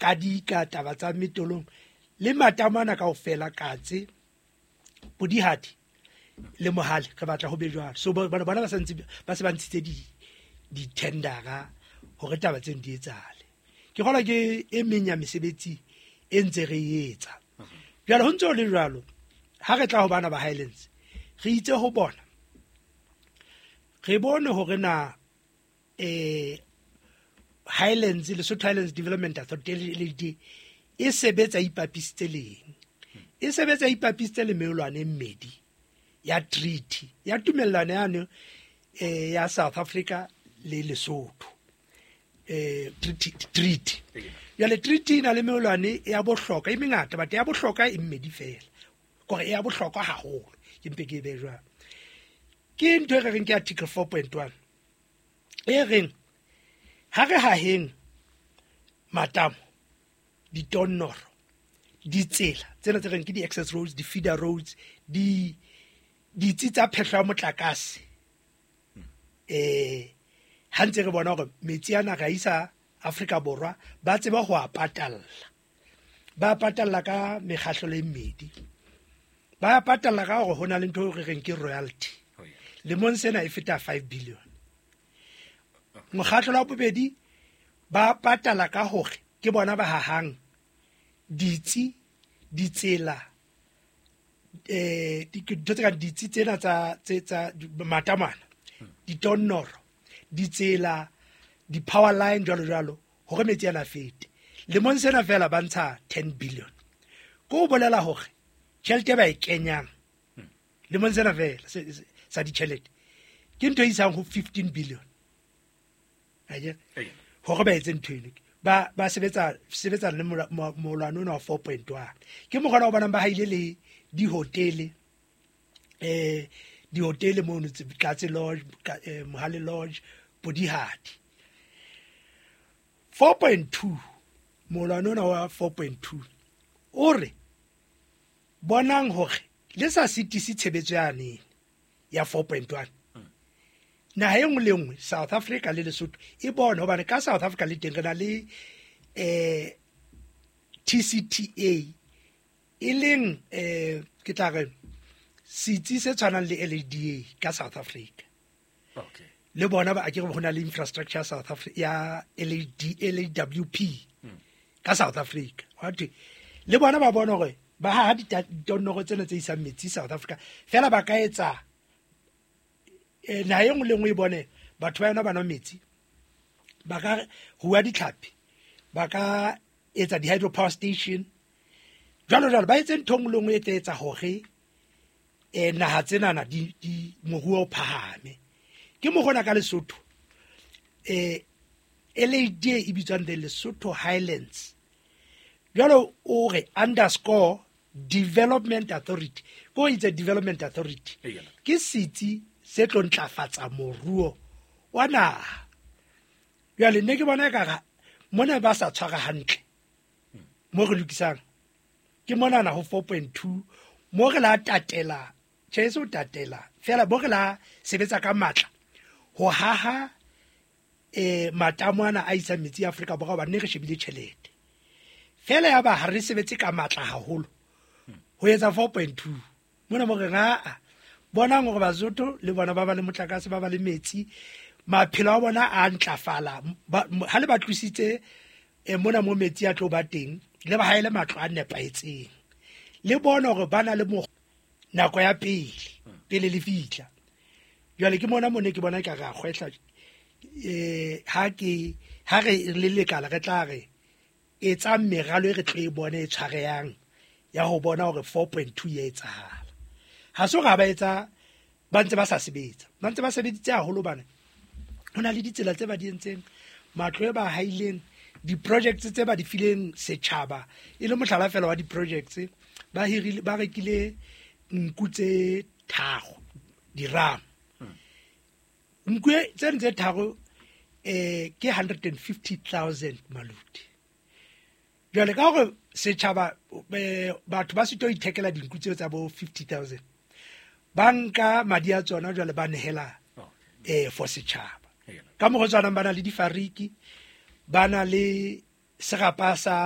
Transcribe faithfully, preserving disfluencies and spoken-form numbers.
Kadika, taba tsa Metolong le matamana kaofela, Katse, Podihadi le Mohale, re batla ho be jwalo. So bona bona ba santse ba se ba ntshitse di di-tendera hore taba tseno di etsahale. Ke kgolwa ke e meng ya mesebetsi e ntse re e etsa. Jwale ho ntse ho le jwalo, ha re tla ho bana ba Highlands, re itse ho bona re bone hore na eh Highlands, Lesotho Highlands Development Authority, L H D A, e sebetsa ipapisitse leng, e sebetsa ipapisitse le meolwane e mmedi ya treaty ya tumellano yane eh ya South Africa le Lesotho, eh treaty treaty Jwale treaty e na le meolwane ya bohlokwa e mengata, but ya bohlokwa e mmedi fela, kore e ya bohlokwa haholo, ke mpe ke e be jwalo. Ke ntho e re reng ke article four point one e reng ha re haheng matamo, ditonnoro, ditsela tsena tse reng ke di-access roads, di-feeder roads, di ditsi tsa phehlo ya motlakase, eh ha ntse re bona hore metsi ana re a isa Afrika Borwa, ba tseba ho a patalla. Ba patalla ka mekgahlelo e mmedi. Ba patalla ka hore ho na le ntho e re reng ke royalty. Lemong sena e feta five billion. Mokgahlelo wa bobedi, ba patala ka hore ke bona ba hahang ditsi, ditsela, eh dintho tse kang ditsi tsena tsa tse tsa matamana, ditonnoro, ditsela, di-power line, jwalo jwalo, hore metsi ana a fete. Lemong sena fela ba ntsha ten billion. Ko ho bolela hore tjhelete e ba e kenyang lemong sena fela sa ditjhelete ke ntho e isang ho fifteen billion akere, hore ba etse ntho eno. Ba ba sebetsa sebetsa le molwane ona wa four point one. Ke mokgona o bonang ba haile le dihotele, eh dihotele mono, Katse Lodge, eh, Mohale Lodge, Podihadi. four point two, molwane ona wa four point two o re bonang hore le sa sitise tshebetso yane ya four point one, naha e nngwe le nngwe, South Africa le Lesotho, e bone hobane ka South Africa le teng re na le eh T C T A, e leng eh ke tla re setsi se tshwanang le L H D A ka South Africa. Okay le bona ba akere ho na le infrastructure ya South Africa ya L H D L W P ka South Africa. Wa thwe le bona ba bona hore ba ha ditonnoro tsena tse isang metsi South Africa fela, ba ka etsa eh, naha e nngwe le nngwe e bone batho ba yona ba nwa metsi, ba ka rua ditlhapi, ba ka etsa di-hydro power station, jwalo jwalo, ba etse ntho e nngwe le nngwe e tla etsa hore um naha tsenana di, di moruo o phahame. Ke mokgona ka Lesotho um L H D A e bitswang the Lesotho Highlands, jwalo o re underscore Development Authority, ko itse Development Authority Eya. ke setsi se tlo ntlafatsa moruo wa naha. Jwale nne ke bona ekare mona ba sa tshwara hantle mo re lokisang ke monana ho four point two, mo re la tatela, tjhe, e se ho tatela fela, mo re la sebetsa ka matla ho haha eh matamo ana a isang metsi Afrika Borwa, hobane ne re shebile tjhelete fela, ya ba ha re sebetse ka matla haholo ho etsa four point two mona, mo re aa bonang hore Basotho le bona ba ba le motlakase, ba ba le metsi, maphelo a bona a ntlafala. Ba- mo- ha le ba tlositse eh, mona mo metsi a tlo ba teng, le ba haele matlo a nepahetseng, le bone hore ba na le mo nako ya pele pele le fihla. Jwale ke mona mo ne ke bona ka re a kgwehla eh ha ke ha re le lekala re tla re etsa meralo e re tlo e bone e tshwarehang ya ho bona hore four point two ya etsahala. Ha se hore ha ba etsa, ba ntse ba sa sebetsa, ba ntse ba sebeditse haholo bane ho na le ditsela tse ba di entseng, matlo e ba haileng, di-projects tse ba di fileng setjhaba. E le mohlala fela wa di-projects, ba hirile, ba rekile nku tse tharo, diramo nku e- tseno tse tharo eh ke one hundred and fifty thousand maluti. Jwale ka hore setjhaba, eh, batho ba sitwa ho ithekela dinku tseo tsa bo fifty thousand, ba nka madi a tsona, jwale ba nehela eh for setjhaba. Eya. Ka mokgwa o tshwanang ba na le difariki, ba na le serapa sa